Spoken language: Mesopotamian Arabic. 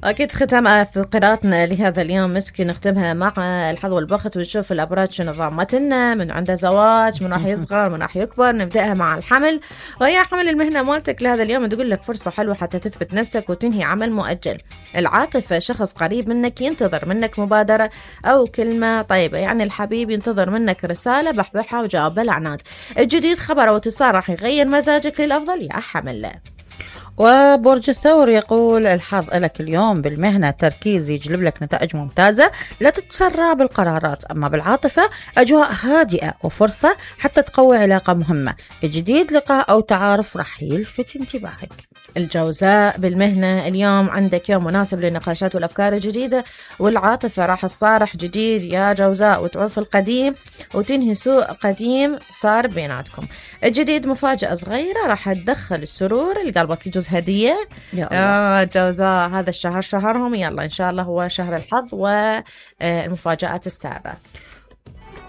أكيد ختام في قراءتنا لهذا اليوم مسكي نختمها مع الحظ والبخت، ونشوف الأبراج شنو ضامتنا، من عنده زواج، من راح يصغر، من راح يكبر. نبدأها مع الحمل، وهي حمل المهنة مالتك لهذا اليوم تقول لك فرصة حلوة حتى تثبت نفسك وتنهي عمل مؤجل. العاطفة شخص قريب منك ينتظر منك مبادرة أو كلمة طيبة، يعني الحبيب ينتظر منك رسالة بحبحها وجواب بالعناد. الجديد خبر أو اتصال راح يغير مزاجك للأفضل يا حمل. وبرج الثور يقول الحظ لك اليوم بالمهنة تركيز يجلب لك نتائج ممتازة، لا تتسرع بالقرارات. أما بالعاطفة أجواء هادئة وفرصة حتى تقوي علاقة مهمة. الجديد لقاء أو تعارف راح يلفت انتباهك. الجوزاء بالمهنة اليوم عندك يوم مناسب للنقاشات والأفكار الجديدة، والعاطفة راح تصارح جديد يا جوزاء وتعوف القديم وتنهي سوء قديم صار بيناتكم. الجديد مفاجأة صغيرة راح تدخل السرور لقلبك، يجوز هدية. جوزاء هذا الشهر شهرهم، يلا إن شاء الله هو شهر الحظ والمفاجآت السارة.